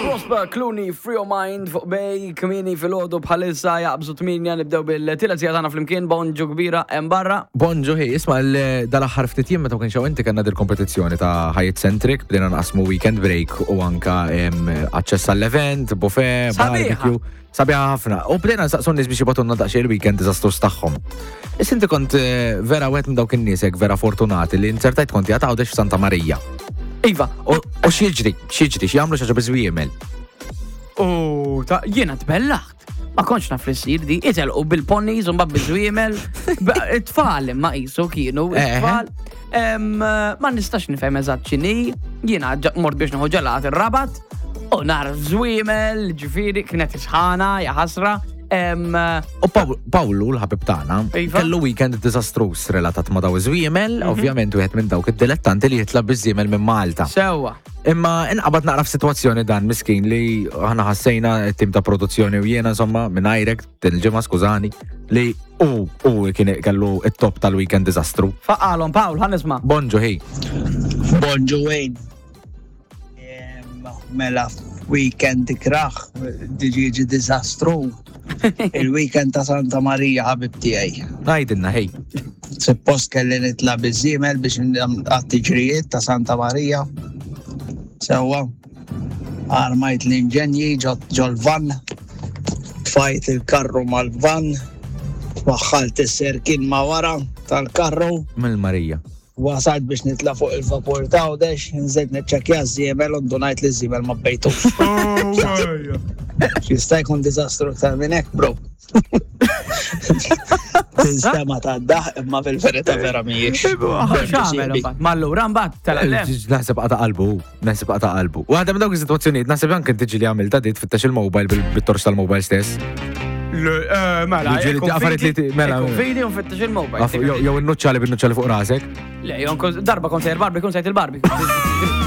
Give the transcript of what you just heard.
Prosper Clooney, Free Your Mind fuq Bay, kmini fil-ħodu bħalissa jaqbżu 8 nibdew bil-tielet sija tagħna flimkien, bonġu kbira hemm barra. Bonġu hi, isma' dal-aħħar ftit jiem meta ma kienx hawn inti kellna dil-kompetizzjoni ta' Hyatt Centric, bdejna nqasmu weekend break u anka aċċess għall-event, buffet, barbecue. Sabiħa ħafna. U bdejna nsaqsu n-nies biex jibgħatulna daqsxejn il-weekend diżastruż tagħhom. Issa inti kont eh, vera wieħed minn dawk in-nies hekk vera fortunati li inzertajt kont jgħat Għawdex f'Santa Marija. Iva. U x'jiġri, x'jiġri, x'jagħmlu xi ħaġa biżwiemel. U ta' jiena tbellaħt. Ma kontx naf li ssir di, itelqu bil-ponies u mbagħad biż-żwiemel. It-tfal imma qisu kienu, Eh, eh. it-tfal. Ma nistax nifhem eżatt x'inhi, jiena mort biex nieħu ġelat ir-Rabat u nar żwiemel, ġifieri kienet isħana, ja ħasra. U Pawlu, l-ħabib tagħna, Iva. kellu weekend diżastruż relatat ma' daw iż-żwiemel, ovvjament wieħed minn dawk id-dilettanti li jitla' biż-żiemel minn Malta. Sewwa. Imma inqabad naqra f'sitwazzjoni dan miskin li aħna ħassejna t-tim ta' produzzjoni u jiena insomma minn għajrek din il-ġimgħa skużani li u u kien kellu it-top tal-weekend diżastru. Faqalhom Pawl, ħa nisma'. Bonġu ħi. Bonġu Wayne. Mela weekend ikraħ, diġi diżastru. Il-weekend ta' Santa Marija ħabib tiegħi. Għidilna ħej. Suppost kelli nitla' biż-żiemel biex għat-tiġrijiet ta' Santa Marija. Sewwa. Armajt l-inġenji ġol-van, tfajt il-karru mal-van, waħħalt is-serkin ma' wara tal-karru. Mill-Marija. Wasalt biex nitla' fuq il-vapur ta' Għawdex, nżilt niċċekkja ż-żiemel u ndunajt li ż-żiemel ma bejtux. Jista' jkun diżastru iktar minn hekk, bro. Tinstema ta' daħ imma fil-verità vera mhijiex. X'għamel imbagħad? Ma allura mbagħad telaq le. Naħseb qata' qalbu, naħseb qata' qalbu. Waħda minn dawk is-sitwazzjonijiet naħseb anke inti ġieli għamilta dit fittex il-mobile bil-torċ tal-mobile stess. Eh, mela, Ġieli jekk affarijiet li ti- mela, jekk mela. fidi u nfittex il-mobile. Jew innuċċali bin-nuċċali fuq rasek. Le, jon darba kont sejr barbi, kun sejt il-barbi.